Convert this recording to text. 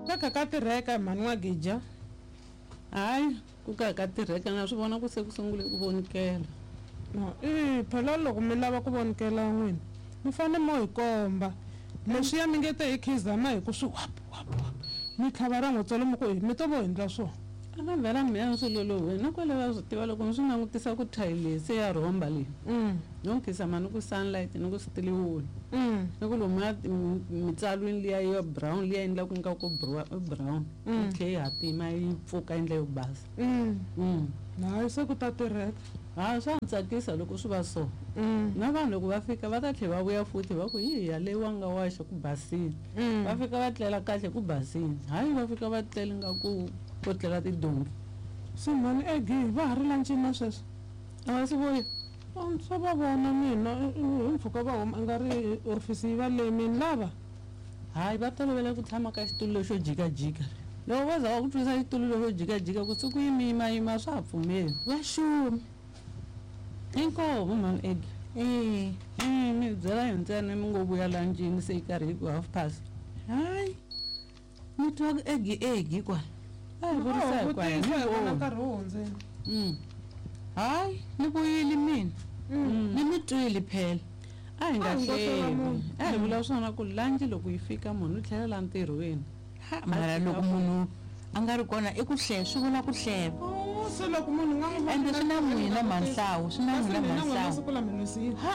Ka kha ka tirheka mhani N'wagija. Hayi, ku ka ka tirheka na swi vona ku se ku sungule ku vonikela. No, i phela loko mi lava ku vonikela n'wina mi fanele mo hi komba leswiya mi nge te hi khizama hi ku swi wap wap wap mi tlhava ra n'wi tsolo mi ku mi to vo hindla swona. A nga vhela meya swi loloweni na kwale va swi tiva loko ni swi langutisa ku thayili se ya rhomba leyi. No nkhisama ni ku sunlight ni ku steel wool. Ni ku lomuya mitsalwini liya ya brown liya endlaku nga ku brown. Yi tlhe yi hatima yi pfuka yi ndla yo basa. Hayi se ku ta tirheka. Ha swa ni tsakisa loko swi va so. Na vanhu loko va fika va ta tlhela va vuya futhi va ku hi yaleyi wa nga waxa ku basile. Va fika va tlela kahle ku basile. Hayi va fika va tlele nga ku ko tlela tidonki. Se mhani Aggie va ha ri lancini na sweswi? A va si vuya. Swa va vona mina hi mpfhuka va huma nga ri ofisi yi va lemini lava. Hayi va tolovele ku tshama ka xitulu lexo jikajika. Loko vo za va ku twisa xitulu lexo jikajika ku siku yi mi yimayima swa ha pfumeli. Va xumi. Inkomu mhani Aggie. Eh. Mi byela hi ntsena mi ngo vuya lancini se yi karhi yi ku half past. Hayi. Mi twa ku Aggie Aggie kwala. A hi vurisa hi kwala. Vutisa hi vona nkarhi wu hundzile. Hayi ni vuyile mina. Ni mi twile phela. A hi nga A hi ngo hlela hlevi. munhu. A hi vula swona ku lanci loko yi fika munhu u tlhelela ntirhweni. Ha mara loko munhu a nga ri kona i ku hleva swi vula ku hleva. Se loko munhu nga n'wi Ende swi na n'wina Manhlawu, swi na n'wina Kasi mina n'wina Manhlawu. siku la mi lwisile. Ha.